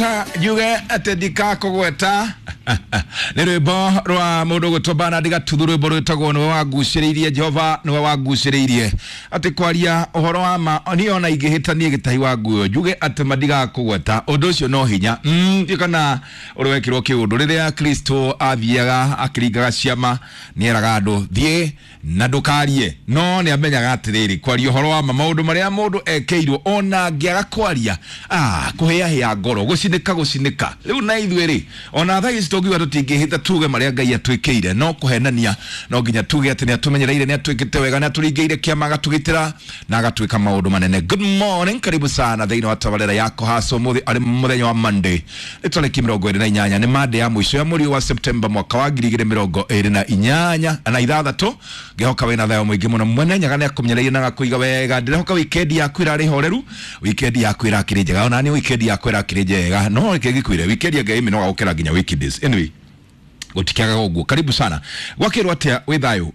Njuge atĩ ndikakũgweta nĩ rwĩmbo rwa mũndũ ũgwĩtwo Bernard Gatuthu, rwĩmbo rwĩtagwo nĩwe wangucĩrĩirie Jehova, nĩwe wangucĩrĩirie. Atĩ kwaria ũhoro wa ma niĩ ona ingĩhĩtanie gĩtahi wa nguo njuge atĩ ma ndigakũgweta, ũndũ ũcio no hinya. Ndiũ kana ũrĩa wekirwo kĩũndũ rĩrĩa Kristo athiaga akĩringaga ciama, nĩeraga andũ thiĩ na ndũkarie, no nĩ amenyaga atĩrĩrĩ, kwaria ũhoro wa ma maũndũ marĩa mũndũ ekĩirwo ona angĩaga kwaria, kũhĩahĩa ngoro, gũcinĩka gũcinĩka. Rĩu na ithuĩ rĩ, ona thaa ici tũngiuga tũtingĩhĩta tuge marĩa Ngai atwĩkĩire, no kũhenania no nginya tuge atĩ nĩ atũmenyereire, nĩ atwĩkĩte wega, nĩ atũringĩire kĩama, agatũgitĩra na agatwĩka maũndũ manene. Good morning, karibu sana thĩinĩ wa tabarĩra yako hasa ũmũthĩ arĩ mũthenya wa Monday, nĩ tarĩki 28, nĩ Monday ya mũico ya mweri wa September mwaka wa 2028 na. Ngĩhoka wĩna thayũ mũingĩ mũno. Mwene Nyaga nĩ akũmenyereire na agakũiga wega. Ndĩrehoka weekend yaku ĩrarĩ horeru, weekend yaku ĩrakĩrĩ njega, ona niĩ weekend yakwa ĩrakĩrĩ njega, no reke ngĩkwĩre weekend ya Ngai mĩnoga gũkĩra nginya weekdays. Anyway, gũtikĩagaga ũguo. Karibu sana gwakĩrwo atĩa, wĩ thayũ?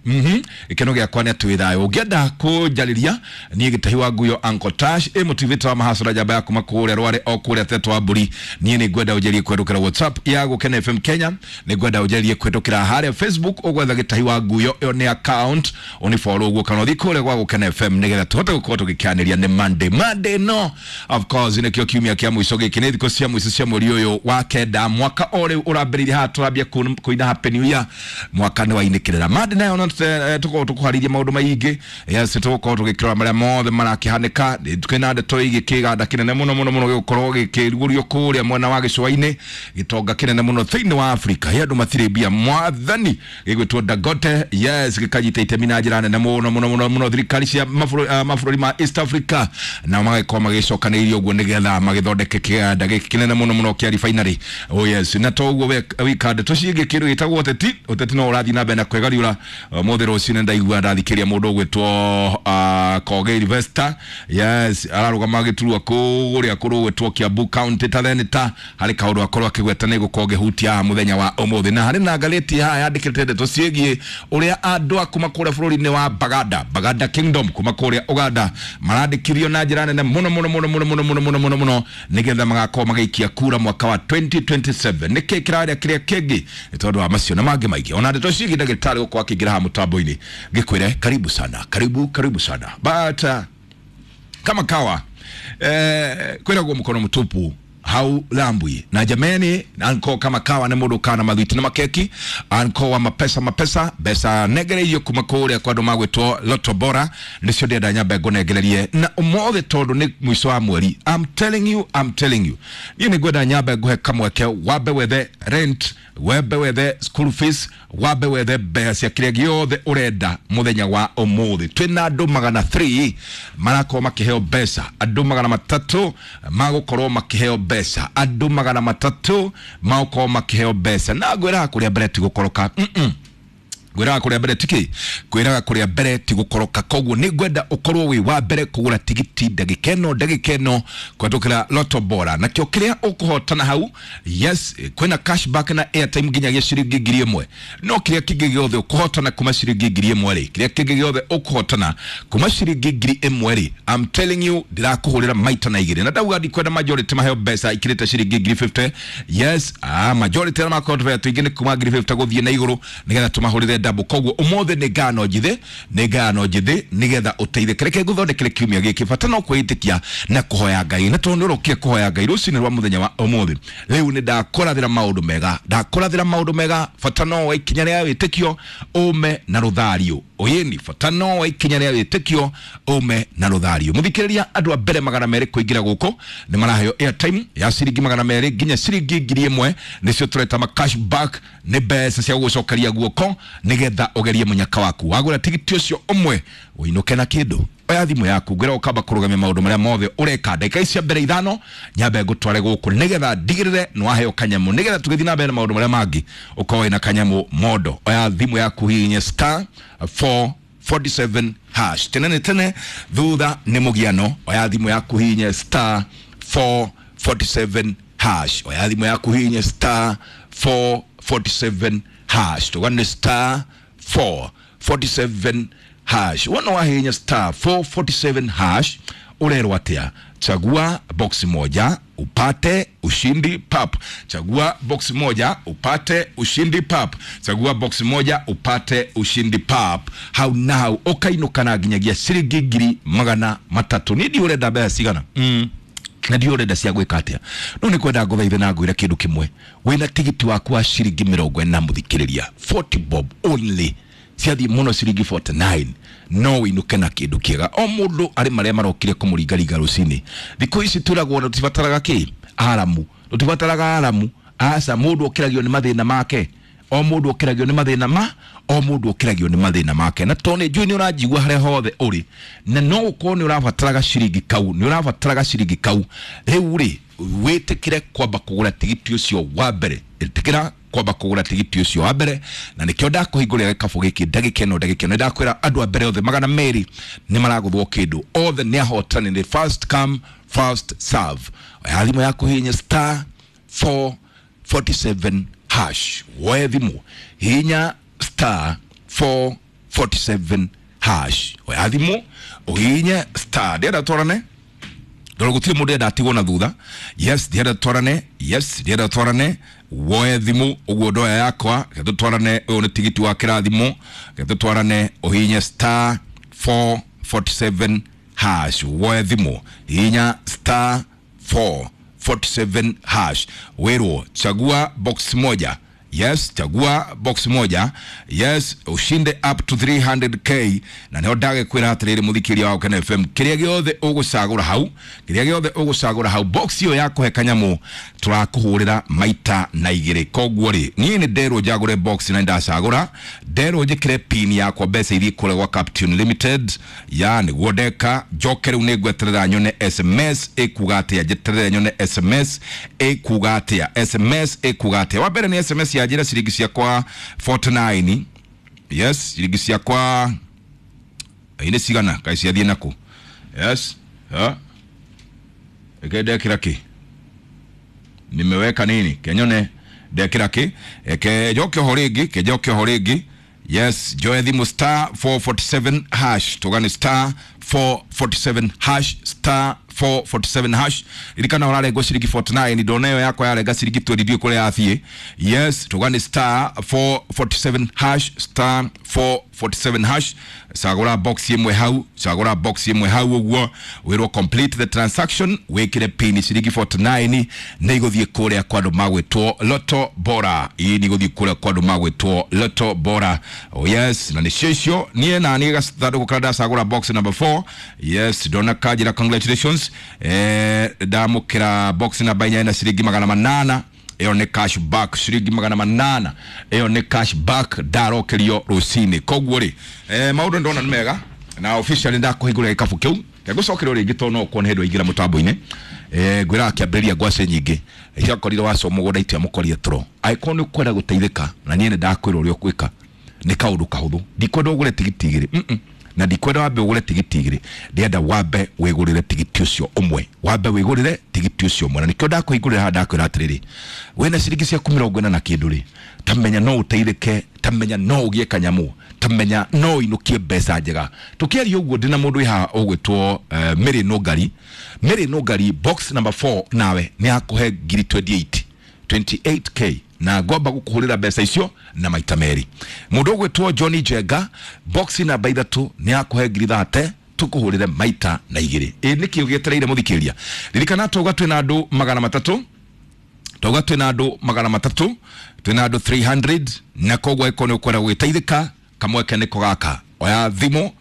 Gĩkeno gĩakwa nĩ atĩ wĩ thayũ. Ũngĩenda kũnjarĩria niĩ gĩtahi wa nguyo Uncle Tash ĩ mũtivĩte wa mahacũra njamba ya kuma kũrĩa rware o kũrĩa tetwo wa mbũri, niĩ nĩ ngwenda ũnjarie kũhetũkĩra WhatsApp ya Gũkena FM Kenya, nĩ ngwenda ũnjarie kũhetũkĩra harĩa Facebook ũgwetha gĩtahi wa nguyo, ĩyo nĩ account ũnifollow ũguo, kana ũthiĩ kũrĩa gwa Gũkena FM nĩgetha tũhote gũkorwo tũgĩkĩanĩria. Nĩ Monday, Monday no of course nĩkĩo kiumia kĩa mũico gĩkĩ, nĩ thikũ cia mũico cia mweri ũyũ wa kenda, mwaka o rĩu ũrambĩrĩirie haha tũrambia kũina happy new year, mwaka nĩ wainĩkĩrĩra. Monday nayo no tũkorwo tũkũharĩirie maũndũ maingĩ. Yes, tũgũkorwo tũgĩkĩrora marĩa mothe marakĩhanĩka. Twĩna ndeto ĩgiĩ kĩganda kĩnene mũno mũno mũno gĩgũkorwo gĩkĩrugũrio kũrĩa mwena wa gĩcũa-inĩ, gĩtonga kĩnene mũno thĩinĩ wa Afrika, he andũ matirĩ mbia mwathani, gĩgwĩtwo Dangote. Yes, gĩkanyita itemi na njĩra nene mũno mũno mũno mũno thirikari cia mabũrũri ma East Africa, na magagĩkorwo magĩcokanĩrĩria ũguo nĩgetha magĩthondeke kĩganda gĩkĩ kĩnene mũno mũno kĩa refinery. Oh yes, na to ũguo wika, ndeto ciĩgiĩ kĩndũ gĩtagwo ũteti, ũteti no ũrathiĩ na mbere na kwĩgariũra. Ũmũthĩ rũcinĩ ndaigua ndathikĩria mũndũ ũgwĩtwo Koge Sylvester. Yes, ararũgama gĩturwa kũrĩa kũrũgwĩtwo Kiambu County ta theneta, harĩ kaũndũ akorwo akĩgweta nĩ gũkorwo ngĩhutia haha mũthenya wa ũmũthĩ. Na harĩ na ngathĩti haha yandĩkĩte ndeto ciĩgiĩ ũrĩa andũ a kuma kũrĩa bũrũri-inĩ wa Baganda, Baganda Kingdom kuma kũrĩa Uganda, marandĩkithio na njĩra nene mũno mũno mũno mũno mũno mũno mũno mũno mũno nĩgetha magakorwo magĩikia kura mwaka wa 2027. Nĩkĩ kĩrarĩa kĩrĩa kĩngĩ? Nĩ tondũ wa macio na mangĩ maingĩ, ona ndeto ciĩgiĩ ndagĩtarĩ gũkorwo akĩingĩra haha mũtambo-inĩ, ngĩkwĩre karibu sana, karibu karibu sana. But kama kawa, kwĩragwo mkono mtupu haulambwi, na jameni, anko kama kawa nĩ mũndũ kana mathwiti na makeki, anko wa mapesa mapesa mbeca nengereirio kuma kũrĩa kwa andũ magwĩtwo Lotto Bora, nĩcio ndĩrenda nyambe ngũnengererie na ũmũthĩ tondũ nĩ mũico wa mweri. I'm telling you, I'm telling you, niĩ nĩ ngwenda nyambe ngũhe kamweke wambe wethe rent, wambe wethe school fees, wambe wethe mbeca cia kĩrĩa gĩothe ũrenda mũthenya wa ũmũthĩ. Twĩna andũ 300 marakorwo makĩheo mbeca, andũ 300 magũkorwo makĩheo mbeca, andũ 300 magũkorwo makĩheo mbeca, na ngwĩraga kũrĩa mbere ti gũkoroka. Ngwĩraga kũrĩa mbere tiki, kwĩraga kũrĩa mbere ti gũkoroka. Koguo nĩ ngwenda ũkorwo wĩ wa mbere kũgũra tigiti ndagĩka ĩno, ndagĩka ĩno kũhetũkĩra Lotto Bora, nakĩo kĩrĩa ũkũhotana hau, yes, kwĩna cashback na airtime nginyagia ciringi 1000, no kĩrĩa kĩngĩ gĩothe ũkũhotana kuma ciringi 1000 rĩ, kĩrĩa kĩngĩ gĩothe ũkũhotana kuma ciringi 1000 rĩ, I'm telling you, ndĩrakũhũrĩra maita na igĩrĩ. Na ndauga ndikwenda majority maheo mbeca ikĩrĩte ciringi 50,000. Yes, majority arĩa makorwo tũbeca tũingĩ nĩ kuma 50,000 gũthiĩ na igũrũ, nĩgetha tũmahũrĩre double. Koguo ũmũthĩ nĩ ngano njithĩ, nĩ ngano njithĩ nĩgetha ũteithĩke. Reke ngũthondekere kiumia gĩkĩ, bata no kwĩĩtĩkia na kũhoya Ngai, na tondũ nĩ ũrokire kũhoya Ngai rũcinĩ rwa mũthenya wa ũmũthĩ, rĩu nĩ ndakũrathĩra maũndũ mega, ndakũrathĩra maũndũ mega. Bata no wa ikinya rĩa wĩtĩkio ũme na rũthario ũyĩni, bata no wa ikinya rĩa wĩtĩkio ũme na rũthario. Mũthikĩrĩria, andũ a mbere 200 kũingĩra gũkũ nĩ maraheo airtime ya ciringi 200 nginya ciringi 1000, nĩcio tũreta ma cashback, nĩ mbeca cia gũgũcokeria guoko nĩgetha ũgerie mũnyaka waku. Wagũra tigiti ũcio ũmwe ũinũke na kĩndũ. Oya thimũ yaku, ngwĩra ũkamba kũrũgamia maũndũ marĩa mothe ũreka ndagĩka ici cia mbere ithano, nyambe ngũtware gũkũ nĩgetha ndigĩrĩre nĩ waheo kanyamũ, nĩgetha tũgĩthiĩ na mbere na maũndũ marĩa mangĩ ũkorwo wĩna kanyamũ mondo. Oya thimũ yaku, hihinye star 447 hash. Tene nĩ tene, thutha nĩ mũgiano. Oya thimũ yaku, hihinye star 447 hash. Oya thimũ yaku, hihinye star 447 hash. Tũgane star 447 hash. Wona wahihinya star 447 hash, Ũrerwo atĩa? Chagua box moja upate ushindi pap. Chagua box moja upate ushindi pap. Chagua box moja upate ushindi pap. Hau na hau ũkainũka na nginyagia ciringi 300,000. Niĩ ndiũ ũrenda mbeca cigana. Na ndiũ ũrenda cia gwĩka atĩa, no nĩ kwenda ngũthaithe na ngwĩre kĩndũ kĩmwe. Wĩna tigiti waku wa ciringi 40 mũthikĩrĩria, 40 bob only, ciathiĩ mũno ciringi 49, no wĩinũke na kĩndũ kĩega. O mũndũ arĩ marĩa marokire kũmũringaringa rũcinĩ. Thikũ ici twĩragwo tũtibataraga kĩ aramu, tũtibataraga aramu, aca. Mũndũ okĩragio nĩ mathĩna make. O mũndũ okĩragio nĩ mathĩna ma o mũndũ okĩragio nĩ mathĩna make. Na tondũ nĩ njũĩ nĩ ũranjigua harĩa hothe ũrĩ, na no ũkorwo nĩ ũrabataraga ciringi kau, nĩ ũrabataraga ciringi kau rĩu rĩ, wĩtĩkĩre kwamba kũgũra tigiti ũcio wa mbere. Ĩtĩkĩra kwamba kũgũra tigiti ũcio wa mbere, na nĩkĩo ndakũhingũrĩra gĩkabũ gĩkĩ ndagĩka ĩno. Ndagĩka ĩno ndakwĩra andũ a mbere othe 200 nĩ maragũthwo kĩndũ, othe nĩ ahotani, nĩ first come first serve. Oya thimũ yaku, hihinya star 447 hash. Woe thimũ, hihinya star 447 hash. Oya thimũ ũhihinye star. Ndĩrenda twarane tondũ gũtirĩ mũndũ enda atigwo na thutha. Yes, ndĩrenda twarane. Yes, ndĩrenda twarane. Woe thimũ ũguo ndoya yakwa, reke tũtwarane. Ũyũ nĩ tigiti wa kĩrathimo. Reke tũtwarane, ũhihinye star 447 hash. Woe thimũ, hihinya star 447 hash, wĩrwo chagua box moja. Yes, chagua box moja. Yes, ushinde up to 300K. Na nĩho ndagĩkwĩra atĩrĩrĩ, mũthikĩria wa Gũkena FM, kĩrĩa gĩothe ũgũcagũra hau, kĩrĩa gĩothe ũgũcagũra hau, box ĩyo ya kũhe kanyamũ tũrakũhũrĩra maita na igĩrĩ. Koguo rĩ, niĩ nĩ nderwo njagũre box na ndacagũra, nderwo njĩkĩre pin yakwa, mbeca iria kũrĩa gwa Captune Limited ya nĩguo ndeka. Njoke rĩu nĩ ngweterera nyone SMS ĩkuga atĩa. Njeterere nyone SMS ĩkuga atĩa. SMS ĩkuga atĩa? Wa mbere nĩ SMS ya njĩra ciringi ciakwa 49. Yes, ciringi ciakwa nĩ cigana? Kaĩ ciathiĩ nakũ? Yes, ha eke ndekĩra kĩ, nimeweka nini, kenyone ndekĩra kĩ. Eke njoke oho rĩngĩ, ke njoke oho rĩngĩ. Yes, njoe thimũ, star 447 hash. Tũgane star 447 hash, star 447 hash. Ririkana ũrarengwo ciringi 49. Ndona ĩyo yakwa yarenga ciringi 20, ndiũĩ kũrĩa yathiĩ. Yes, tũgane star 447 hash, star 447 hash. Cagũra box ĩmwe hau, cagũra box ĩmwe hau ũguo, wĩrwo complete the transaction, wĩkĩre pin. Ciringi 49 nĩ igũthiĩ kũrĩa kwa andũ magwĩtwo Lotto Bora. Ii nĩ igũthiĩ kũrĩa kwa andũ magwĩtwo Lotto Bora. Oh yes, na nĩcio icio. Niĩ na niĩ gathandũkũ karĩa ndacagũra, box number 4. Yes, ndona kanjĩra congratulations. Ndamũkĩra box namba 4 na ciringi 800. Ĩyo nĩ cash back, ciringi 800. Ĩyo nĩ cash back ndarokerio rũcinĩ. Koguo rĩ, maũndũ ndona nĩ mega na officially ndakũhingũrĩra gĩkabũ kĩu. Ngũcokerwo rĩngĩ tondũ no ũkorwo nĩ hĩndĩ waingĩra mũtambo-inĩ. Ngwĩraga kĩambĩrĩria ngwacĩ nyingĩ ciakorire waco mũgũnda itiamũkorire toro. Angĩkorwo nĩ ũkwenda gũteithĩka na niĩ nĩ ndakwĩra ũrĩa ũgwĩka, nĩ kaũndũ kahũthũ. Ndikwenda ũgũre tigiti igĩrĩ. Na ndikwenda wambe ũgũre tigiti igĩrĩ, ndĩrenda wambe wĩgũrĩre tigiti ũcio ũmwe, wambe wĩgũrĩre tigiti ũcio ũmwe. Na nĩkĩo ndakũhingũrĩra haha, ndakwĩra atĩrĩrĩ, wĩna ciringi ciaku 40 na kĩndũ rĩ, tamenya no ũteithĩke, tamenya no ũgĩe kanyamũ, tamenya no ũinũkie mbeca njega. Tũkĩaria ũguo ndĩna mũndũ wĩ haha ũgwĩtwo Mary Nũngari. Mary Nũngari, box number 4 nawe nĩ akũhe ngiri 28, 28K, na ngomba gũkũhũrĩra mbeca icio na maita merĩ. Mũndũ ũgwĩtwo Johnny Njenga, box namba 3 nĩ akũhe ngiri 30, tũkũhũrĩre maita na igĩrĩ. Ĩ nĩkĩ ũgĩetereire, mũthikĩria? Ririkana twauga twĩna andũ 300, twauga twĩna andũ 300, twĩna andũ 300. Na koguo angĩkorwo nĩ ũkwenda gũgĩteithĩka, kamweke nĩko gaka. Oya thimũ,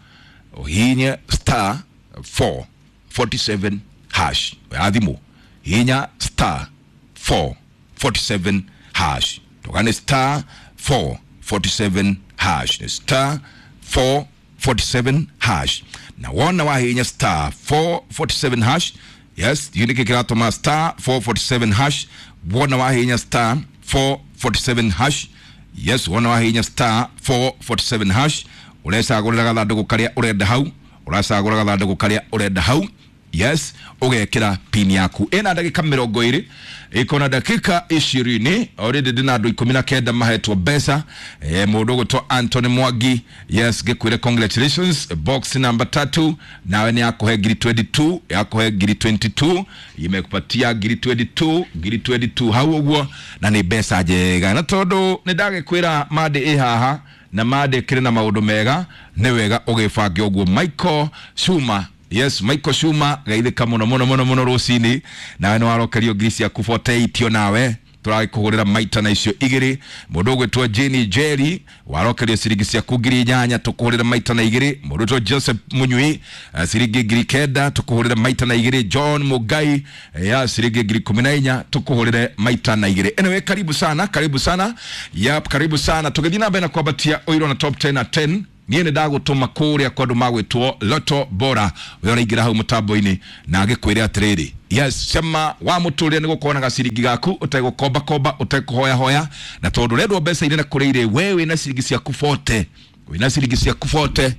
ũhihinye star 447 hash. Oya thimũ, hihinya star 447 hash. Tũgane star 447 hash. Nĩ star 447 hash. Na wona wahihinya star 447 hash, yes, ndiũĩ nĩkĩ kĩratũma star 447 hash. Wona wahihinya star 447 hash, yes, wona wahihinya star 447 hash, ũrecagũrĩra gathandũkũ karĩa ũrenda hau, ũracagũra gathandũkũ karĩa ũrenda hau. Yes, ũgekĩra pin yaku. Ĩna ndagĩka 20, iko na dakika 20. Already ndĩna andũ 19 mahetwo mbeca. Mũndũ ũgwĩtwo Anthony Mwangi, yes, ngĩkwĩre congratulations. Box number 3 nawe nĩ yakũhe ngiri 22, yakũhe ngiri 22, imekupatia ngiri 22, ngiri 22 hau ũguo, na nĩ mbeca njega. Na tondũ nĩ ndagĩkwĩra Monday ĩ haha na Monday kĩrĩ na maũndũ mega, nĩ wega ũgĩbange ũguo. Michael Shuma, yes, Michael Shuma, geithĩka mũno mũno mũno mũno rũcinĩ. Nawe nĩ warokerio ngiri ciaku 48, nawe tũragĩkũgũrĩra maita na icio igĩrĩ. Mũndũ ũgwĩtwo Jane Jerry, warokerio ciringi ciaku 8,000, tũkũhũrĩra maita na igĩrĩ. Mũndũ ũgwĩtwo Joseph Munyui, ciringi 9,000, tũkũhũrĩra maita na igĩrĩ. John Mugai, ya ciringi 14,000, tũkũhũrĩre maita na igĩrĩ. Anyway, karibu sana, karibu sana, yep, karibu sana. Tũgĩthiĩ na mbere na kwambatia ũiro na top 10 na 10, niĩ nĩ ndagũtũma kũrĩa kwa andũ magwĩtwo Lotto Bora. We ũraingĩra hau mũtambo-inĩ na ngĩkwĩre atĩrĩrĩ, yes, cema wa mũtũrĩre nĩ gũkorwo na gaciringi gaku ũtegũkombakomba, ũtekũhoyahoya, na tondũ ũrendwo mbeca inene kũrĩ irĩ, we wĩna ciringi ciaku 40, wĩna ciringi ciaku 40,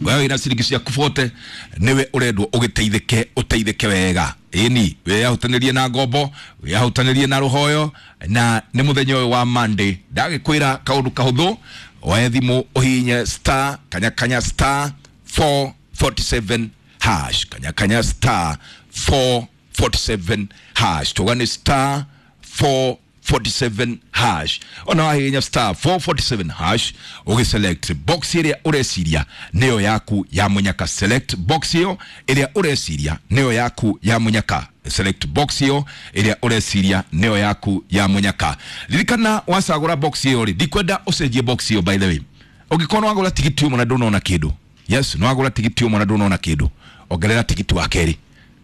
we wĩna ciringi ciaku 40, nĩwe ũrendwo ũgĩteithĩke, ũteithĩke wega. Ĩni wĩyahutanĩrie na ngombo, wĩyahutanĩrie na rũhoyo, na nĩ mũthenya ũyũ wa Monday ndagĩkwĩra kaũndũ kahũthũ. Oe thimũ ũhihinye star kanya kanya star 447 hash, kanya kanya star 447 hash, tuga nĩ star 447 hash. Ona wahihinya star 447 hash, ũgĩselect box ĩrĩa ũreciria nĩyo yaku ya mũnyaka. Select box ĩyo ĩrĩa ũreciria nĩyo yaku ya mũnyaka. Select box ĩyo ĩrĩa ũreciria nĩyo yaku ya mũnyaka. Ririkana wacagũra box ĩyo rĩ, ndikwenda ũcenjie box ĩyo. By the way, ũngĩkorwo nĩ wagũra tigiti ũmwe na ndũnona kĩndũ, yes, nĩ wagũra tigiti ũmwe na ndũnona kĩndũ, ongerera tigiti wa kerĩ.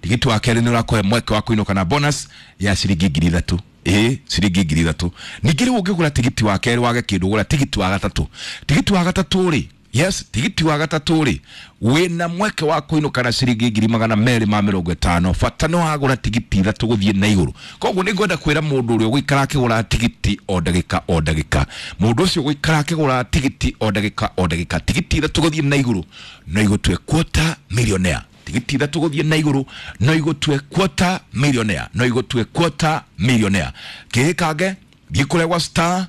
Tigiti wa kerĩ nĩ ũrakũhe mweke wa kũinũka na bonus ya ciringi 3,000. Ĩĩ, ciringi 3,000. Ningĩ rĩu ũngĩgũra tigiti wa kerĩ wage kĩndũ, gũra tigiti wa gatatũ. Tigiti wa gatatũ rĩ, yes, tigiti wa gatatũ rĩ, wĩna mweke wa kũinũka na ciringi 250,000. Bata nĩ wagũra tigiti ithatũ gũthiĩ na igũrũ. Koguo nĩ ngwenda kwĩra mũndũ ũrĩa ũgũikara akĩgũra tigiti o ndagĩka o ndagĩka, mũndũ ũcio ũgũikara akĩgũra tigiti o ndagĩka o ndagĩka, tigiti ithatũ gũthiĩ na igũrũ no igũtue quarter millionaire. Tigiti ithatũ gũthiĩ na igũrũ no igũtue quarter millionaire, no igũtue quarter millionaire. Kĩhĩkange thiĩ kũrĩa gwa star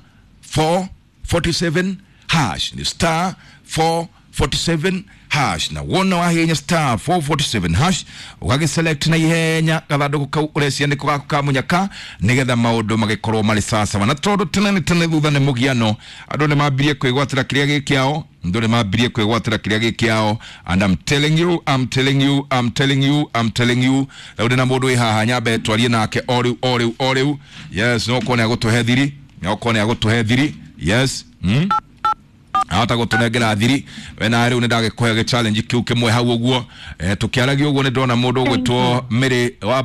447 hash, ni star 447 hash, na wona wahihinya star 447 hash, ũgagĩselect na ihenya gathandũkũ kau ũrecia nĩko gaku ka mũnyaka, nĩgetha maũndũ magĩkorwo marĩ sawasawa. Na tondũ tene nĩ tene thutha nĩ mũgiano, andũ nĩ mambirie kwĩgwatĩra kĩrĩa gĩ kĩao, andũ nĩ mambirie kwĩgwatĩra kĩrĩa gĩ kĩao. And I'm telling you, I'm telling you, I'm telling you, I'm telling you, rĩu ndĩna mũndũ wĩ haha, nyambe twarie nake o rĩu o rĩu o rĩu. Yes, no korwo nĩ agũtũhe thiri, no korwo nĩ agũtũhe thiri. Yes, ahota gũtũnengera thiri. We na rĩu nĩ ndagĩkũhe gĩ challenge kĩu kĩmwe hau ũguo. Tũkĩaragia ũguo nĩ ndona mũndũ ũgwĩtwo Mary wa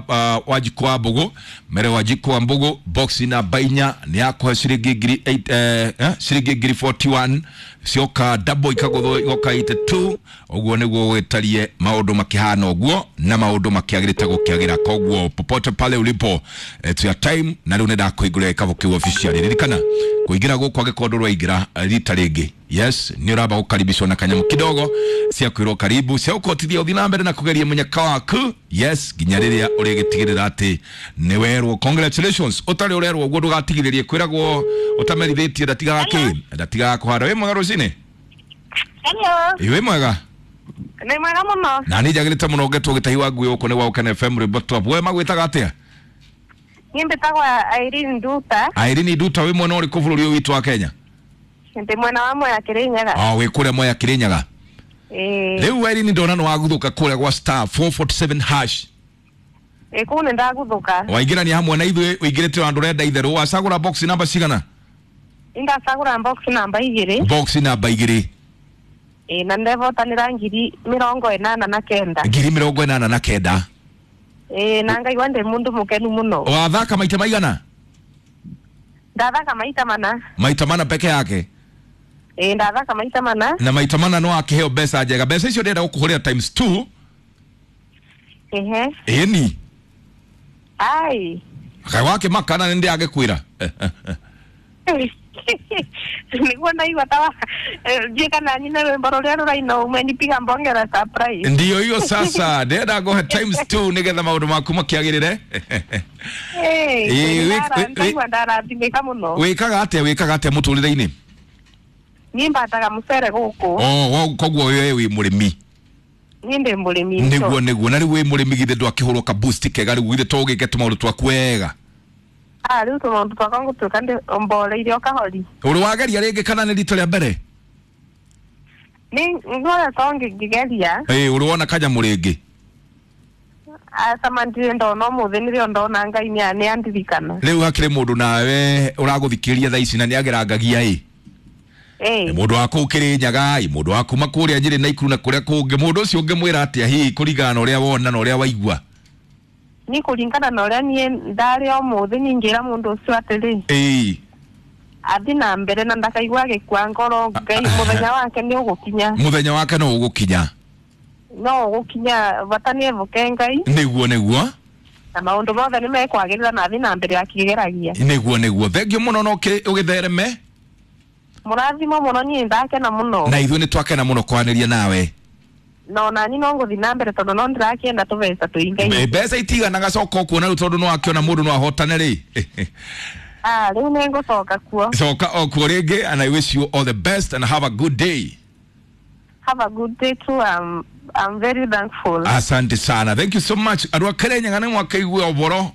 Wanjikũ wa Mbũgũ, Mary Wanjikũ wa Mbũgũ, box namba 4 nĩ yakũhe ciringi ngiri 8, ciringi ngiri 41, cioka double ikagũthwo igoka 82. Ũguo nĩguo gwĩtarie maũndũ makĩhana ũguo na maũndũ makĩagĩrĩte gũkĩagĩra. Koguo popote pale ulipo, it's your time. Na rĩu nĩ ndakũhingũrĩra gĩkabũ kĩu officially. Ririkana kũingĩra gũkũ angĩkorwo ndũraingĩra rita rĩngĩ, yes, nĩ ũramba gũkaribishwo na kanyamũ kidogo cia kwĩrwo karibu, cia gũkũhotithia ũthiĩ na mbere na kũgeria mũnyaka waku, yes, nginya rĩrĩa ũrĩgĩtigĩrĩra atĩ nĩ werwo congratulations. Ũtarĩ ũrerwo ũguo ndũgatigithĩrie kwĩragwo ũtamerithĩtie, ndatigaga kĩ, ndatigaga kũhanda. Wĩ mwega rũcinĩ? Hello. Ĩ, wĩ mwega? Nĩ mwega mũno. Na nĩ njagĩrĩte mũno ngetwo gĩtahi wa ngui gũkũ nĩ gwa Ũkene FM rwĩmbo top. We magwĩtaga atĩa? Niĩ mbĩtagwo Irene Nduta. Irene Nduta, wĩ mwena ũrĩkũ bũrũri ũyũ witũ wa Kenya? Ndĩ mwena wa Mwea Kĩrĩnyaga. Oh, wĩ kũrĩa Mwea Kĩrĩnyaga. Ĩĩ. Rĩu Irene, ndona nĩ waguthũka kũrĩa gwa star 447 hash. Ĩĩ, kũu nĩ ndagũthũka. Waingĩrania hamwe na ithuĩ, ũingĩrĩte handũ ũrenda itherũ. Wacagũra box namba cigana? Ndacagũra box namba 2. Box namba 2. Ĩĩ, na ndevotanĩra 89,000. 89,000. Ĩĩ, na ngaigua ndĩ mũndũ mũkenu mũno. Wathaka maita maigana? Ndathaka maita mana. Maita mana peke yake? Ĩĩ, ndathaka maita mana. Na maita mana no akĩheo mbeca njega. Mbeca icio ndĩrenda gũkũhũrĩra times 2. Ehe. Ĩni. Ai. Kaĩ wakĩmaka na nĩ ndĩagĩkwĩra. Niguo ndaigua ta njika na nyina rwimbo ruria ruraina umenipiga mbonge la surprise. Ndiyo hiyo sasa, ndĩrenda ngũhe times 2 nĩgetha maũndũ maku makĩagĩrĩre. Ndaigua ndarathimĩka mũno. Wĩkaga atĩa mũtũrĩre-inĩ? Niĩ mbataga mũcere gũkũ. Oh, koguo wewe wĩ mũrĩmi? Niĩ ndĩ mũrĩmi. Nĩguo na rĩu wĩ mũrĩmi githĩ ndwakĩhũrwo ka boost kega rĩu githĩ to ũgĩke tũmaũndũ twaku wega? Rĩu tũmaũndũ twakwa ngũtuĩka mboreire o kahori. Ũrĩ wageria rĩngĩ kana nĩ rita rĩa mbere? Nĩ ngoretwo ngĩgeria. Ĩĩ, ũrĩ wona kanyamũ rĩngĩ? Aca ndirĩ ndona, ũmũthĩ nĩrĩo ndona Ngai nĩ andirikana. Rĩu hakĩrĩ mũndũ nawe ũragũthikĩrĩria thaa ici na nĩ agerangagia ĩ? Mũndũ wa kũu Kĩrĩnyaga ĩ, mũndũ wa kuma kũrĩa Nyĩrĩ na Ikuru na kũrĩa kũngĩ, mũndũ ũcio ũngĩmwĩra atĩa hihi kũringana na ũrĩa wona na ũrĩa waigua? Niĩ kũringana na ũrĩa niĩ ndarĩ ũmũthĩ ningĩra mũndũ ũcio atĩrĩ, ĩĩ, athi na mbere na ndakaigua agĩkua ngoro, Ngai mũthenya wake nĩ ũgũkinya. Mũthenya wake no ũgũkinya. No ũgũkinya, bata nĩ evoke Ngai. Nĩguo. Na maũndũ mothe nĩ mekwagĩrĩra na athi na mbere akĩgeragia. Nĩguo. Thengiũ mũno no ũgĩthereme. Mũrathimo mũno, niĩ ndakena mũno. Na ithuĩ nĩ twakena mũno kwaranĩria nawe. No nani no ngũthiĩ na mbere tondũ no ndĩrakĩenda tũbeca tũingaingĩ. Mbeca itiganaga, coka ũkuona rĩu tondũ no akĩona mũndũ no ahotane rĩ. Rĩu nĩ ngũcoka kuo. Coka o kuo rĩngĩ, and I wish you all the best and have a good day. Have a good day too. I'm very thankful. Asante sana. Thank you so much. Andũ a Kĩrĩnyaga nĩ mwakĩigua ũboro.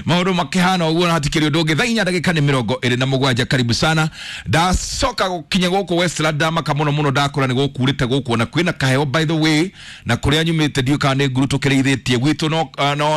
Maũndũ makĩhana ũguo na hatikĩrĩ ũndũ ũngĩ. Thaa inya ndagĩka nĩ 27. Karibu sana. Ndacoka gũkinya gũkũ Westland, ndamaka mũno mũno, ndakora nĩ gũkurĩte gũkũ na kwĩna kaheo by the way, na kũrĩa nyumĩte ndiũĩ kana nĩ nguru tũkĩrĩithĩtie gwitũ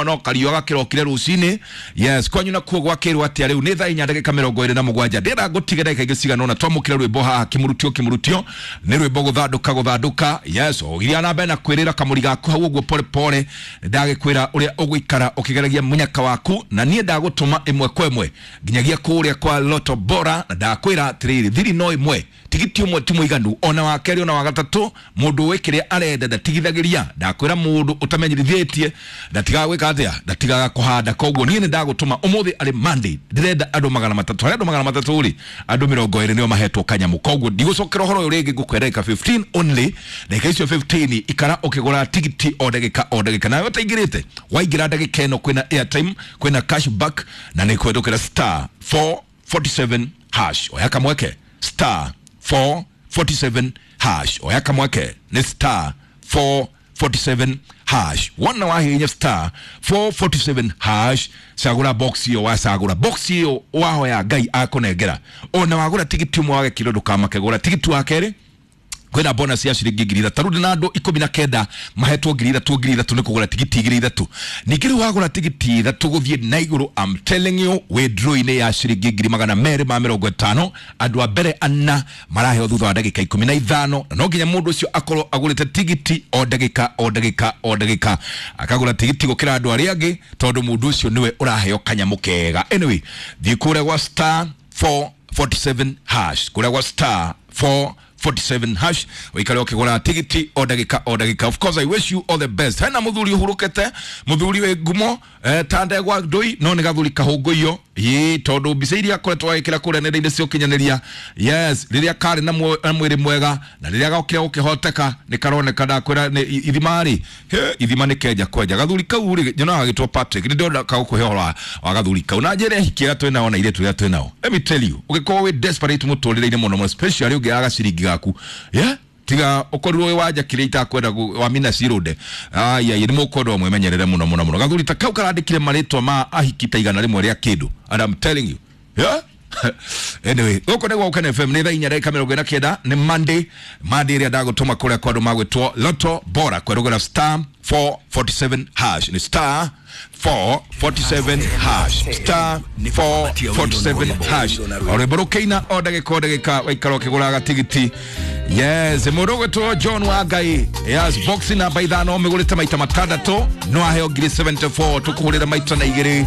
no kariũa gakĩrokire rũcinĩ. Yes, kwanyu nakuo gwakĩrwo atĩa rĩu? Nĩ thaa inya ndagĩka 27. Ndĩrenda ngũtige ndagĩka ingĩ cigana ũna twamũkĩre rwĩmbo haha, kĩmũrutio nĩ rwĩmbo gũthandũka. Yes, ũgiria na mbere na kwĩrĩra kamũri gaku hau ũguo pole pole, ndagĩkwĩra ũrĩa ũgũikara ũkĩgeragia mũnyaka waku, na niĩ ndagũtũma ĩmwe kwa ĩmwe nginyagia kũrĩa kwa Lotto Bora, na ndakwĩra atĩrĩrĩ, thiri no ĩmwe, tigiti ũmwe ti mũiganu, ona wa kerĩ ona wa gatatũ, mũndũ ũĩ kĩrĩa arenda ndatigithagĩria. Ndakwĩra mũndũ ũtamenyithĩtie ndatigaga gwĩka atĩa, ndatigaga kũhanda. Koguo niĩ nĩ ndagũtũma ũmũthĩ arĩ Monday, ndĩrenda andũ 300. Harĩ andũ 300 rĩ, andũ 20 nĩo mahetwo kanyamũ. Koguo ndigũcokera ũhoro ũyũ rĩngĩ, ngũkwĩra ndagĩka 15 only, ndagĩka icio 15 ikara ũkĩgũra tigiti o ndagĩka o ndagĩka. Nawe ũtaingĩrĩte, waingĩra ndagĩka ĩno kwĩna airtime, kwĩna cashback, na nĩ kwendũkĩra star 447 hash. Oya kamweke star 447 hash. Oya kamweke nĩ star 447 hash. Wona wahihinya star 447 hash, cagũra box ĩyo, wacagũra box ĩyo wahoya Ngai akũnengera. Ona wagũra tigiti ũmwe wage kiro ndũkamake, gũra tigiti wa kerĩ kwĩna bonus ya ciringi 3,000. Rĩu ndĩna andũ 19 mahetwo 3,000 3,000 nĩ kũgũra tigiti 3,000. Ningĩ rĩu wagũra tigiti 3 gũthiĩ na igũrũ, I'm telling you, wĩ draw-inĩ ya ciringi 250,000. Andũ a mbere ana maraheo thutha wa ndagĩka 15, na no nginya mũndũ ũcio akorwo agũrĩte tigiti o ndagĩka o ndagĩka o ndagĩka, akagũra tigiti gũkĩra andũ arĩa angĩ, tondũ mũndũ ũcio nĩwe ũraheo kanyamũ kega. Anyway, thiĩ kũrĩa gwa star 447 hash, kũrĩa gwa star 447 hash, ũikare ũkĩgũra tigiti o ndagĩka o ndagĩka. Of course I wish you all the best. Hena mũthuri ũhurũkĩte, mũthuri wĩ ngumo ta ndegwa ndũi, no nĩ gathuri kahũngũiyo ĩ, tondũ mbica iria akoretwo agĩkĩra kũrĩa nenda-inĩ cia ũkinyanĩria, yes, rĩrĩa karĩ na mwĩrĩ mwega na rĩrĩa gokire gũkĩhoteka nĩ karoneka. Ndakwĩra ithima rĩ, ithima nĩ kenja kwenja. Gathuri kau rĩ, nyonaga gagĩtwo Patrick, nĩ ndĩrona kagũkũhe ũhoro wa gathuri kau na njĩra hiki ĩrĩa twĩnao na airĩtu arĩa twĩnao. Let me tell you, ũngĩkorwo wĩ desperate mũtũrĩre-inĩ mũno mũno, especially ũngĩaga gaciringi gaku, yeah, tiga ũkorirwo wĩ wanja kĩrĩa itakwenda wa mina cirũnde, ai nĩ mũkwendwo mwĩmenyerere mũno mũno mũno. Gathuri ta kau karandĩkire marĩtwa ma ahiki ta 100 rĩa kĩndũ, and I'm telling you, yeah. Anyway, gũkũ nĩ gwa Ũkene FM, nĩ thaa inya ndagĩka 49, nĩ Monday, Monday ĩrĩa ndagũtũma kũrĩa kwa andũ magwĩtwo Lotto Bora, kwerũgĩra star 447 hash, nĩ star 447 hash, star 447 hash. O rwĩmbo rũkĩina o ndagĩka o ndagĩka, waikara ũkĩgũraga tigiti. Yes, mũndũ ũgwĩtwo John wa Ngai, yes, box namba 5 mĩgũrĩte maita 6 no aheo 74,000, tũkũhũrĩra maita na 2.